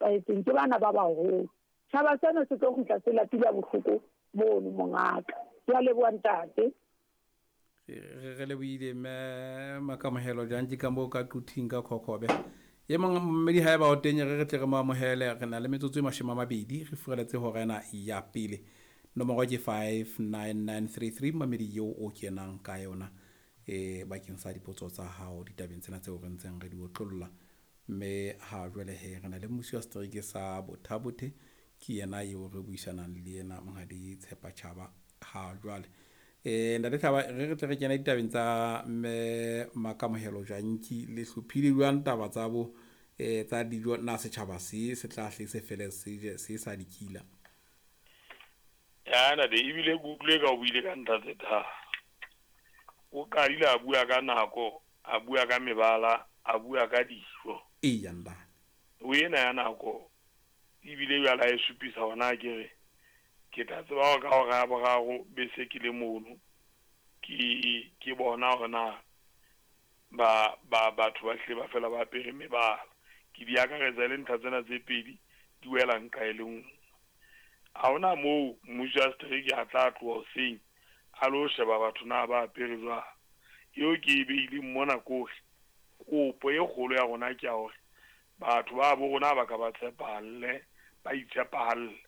nepahetseng ke bana ba baholo. Tjhaba sena se tlo kgutla se lapile bohloko mono mongaka. Ke a leboha ntate. Re lebohile mme Makamohelo Jantji ka moo ka Quthing ka Khokhobe. E mong mmedi ha eba o teng re re tle re mo amohele. Re na le metsotso e 20 re furaletse hora ena ya pele. Nomoro ke 59933 mamedi eo o kenang ka yona bakeng sa dipotso tsa hao ditabeng tsena tseo re ntseng re di otlolla. Mme ha jwale he re na le mmusi wa setereke sa Botha-Bothe, ke yena eo re buisanang le yena Monghadi Tshepa Tjhaba ha jwale. Ntate Tjhaba, re re tle re kene ditabeng tsa mme Makamohelo Jantji. Le hlophile jwang taba tsa bo tsa dijo? Na setjhaba se se tla hle se fele se je se sa dikila? Ya ntate, ebile ke utlwile ka o buile ka ntlha tse tharo. O qadile a bua ka nako, a bua ka mebala, a bua ka dijo. Eya ntate. O ena ya nako ebile jwale a e supisa hona ke re ke tla tseba hore ka hora ya boraro be se ke le mono ke ke bona hore na ba ba batho ba hlile ba fela ba apere mebala. Ke di akaretsa e le ntlha tsena tse pedi di wela nqa e le nngwe. Ha hona moo mmuso wa setereke a tla tloha hoseng a lo sheba batho na ba apere jwang. Eo ke e beileng mona ke hore kopo e kgolo ya rona ke ya hore batho ba bo rona ba ka ba tshepahalle, ba itshepahalle.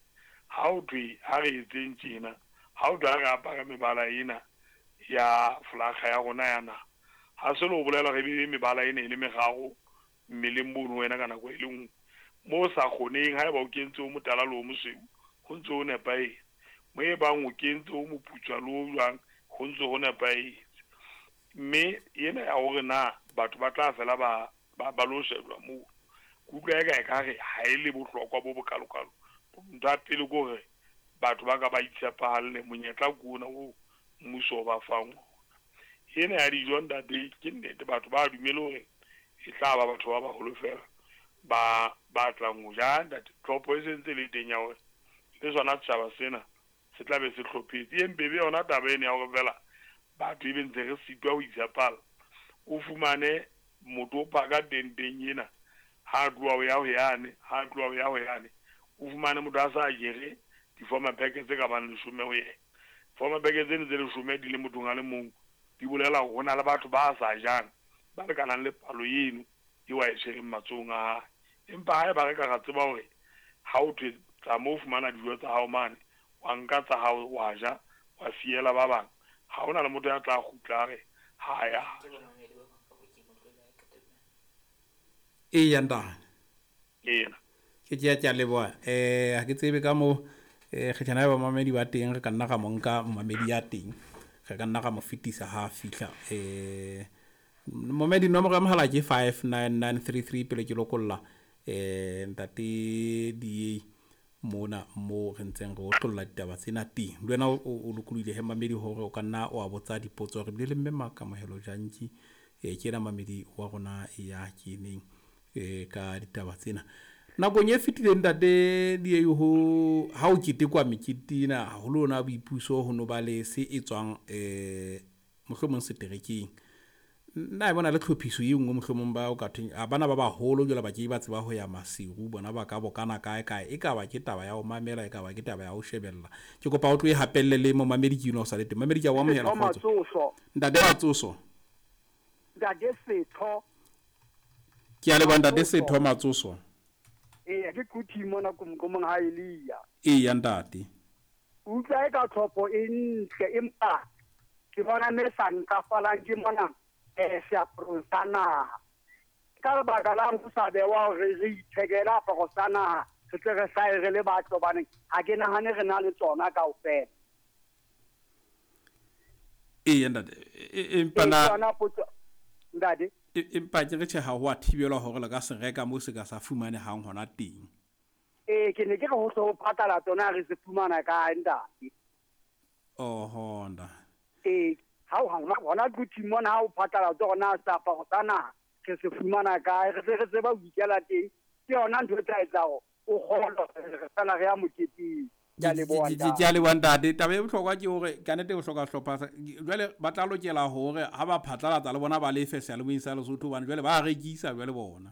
Ha ho thwe ha re etseng tjena, ha ho thwe ha re apare mebala ena ya folakga ya rona ya naha, ha se le ho bolela hore ebe mebala ena e le meraro mmeleng mono wena ka nako e le nngwe. Moo o sa kgoneng, haeba o kentse o motala le o mosweu, ho ntse ho nepahetse. Mo e bang o kentse o moputswa le o jwang, ho ntse ho nepahetse. Mme ena ya hore na batho ba tla fela ba ba ba lo shejwa moo, ke utlwa eka ekare ha e le bohlokwa bo bokalokalo. Ntho ya pele ke hore batho ba ka ba itshepahalle, monyetla ke ona oo mmuso o ba fang ona. Ena ya dijo ntate, ke nnete batho ba dumele hore e tla ba batho ba baholo fela ba ba tlang ho ja. Ntate, tlhopho e sentse le teng ya hore le sona setjhaba sena se tla be se hlophetse. E mpe be yona taba ena ya hore fela batho ebe ntse re sitwa ho itshepala. O fumane motho o phaka tenteng ena, ha tloha ho ya ho yane, ha tloha ho ya ho yane, o fumane motho a sa jere di-former pack tse ka bang 10 ho yena. Former pack tseno tse 10 di le mothong a le mong, di bolela hore ho na le batho ba sa jang ba lekanang le palo eno eo a e tshwereng matsohong a hae. Empa haeba re ka ra tseba hore ha o thwe tsamaya o fumana dijo tsa hao mane, wa nka tsa hao wa ja, wa siela ba bang, ha hona le motho ya tla kgutla a re ha ya ja. Eya ntate. Ena. Ke ke ya leboha. Ha ke tsebe ka moo kgetjhana ya bamamedi ba teng, re ka nna ra mo nka momamedi ya teng, re ka nna ra mo fetisa ha a fihla. Momamedi nomoro ya mohala ke 59933 pele ke lokolla ntate DA mona moo re ntseng re otlolla ditaba tsena teng. Le wena o lokolohile he mamedi hore o ka nna wa botsa dipotso. Re bile le mme Makamohelo Jantji, ke yena mamedi wa rona ya keneng ka ditaba tsena. Nakong e fetileng ntate DA ho ha o ketekwa mekete ena haholo ona boipuso ho no ba le se etswang mohlomong seterekeng. Nna e bona le tlhophiso e nngwe mohlomong ba o ka thweng a bana ba baholo jwale ba ke ba tseba ho ya Maseru, bona ba ka bokana kae kae, e ka ba ke taba ya ho mamela, e ka ba ke taba ya ho shebella. Ke kopa o tlo e hapelle le momamedi ke eno o sa le teng. Mamedi ke a o amohela kgotso. Ntate Matsoso. Ntate Setho. Ke a leboha ntate Setho Matsoso. Eya, ke Quthi mona komkomong ha Elia. Eya ntate. Utlwa e ka tlhopho e ntle empa ke bona me sa ntlafalang ke mona seaparong sa naha. Ka lebaka la ho sa bewa hore re ithekele aparo sa naha, re tle re hlahe re le batho hobane ha ke nahane re na le tsona kaofela. Eya ntate, empa na yona potso ntate. Empa ke re tjhe ha ho a thibelwa hore le ka se reka moo se ka sa fumanehang hona teng. Ke ne ke re ho hle ho patala tsona re se fumana kae ntate. Oho ntate. Ha o hona Quthi mona ha o patala tsona seaparo sa naha re se fumana kae, re se re tseba ho ikela teng. Ke yona ntho e tla etsa hore o kgolwe re fela re ya moketeng. Ke a leboha ntate. Ke a leboha ntate. Taba e bohlokwa ke hore ka nnete o hloka hlopha. Jwale ba tla lokela hore ha ba phatlalatsa le bona ba lefe seyalemoyeng sa Lesotho hobane jwale ba rekisa jwale bona.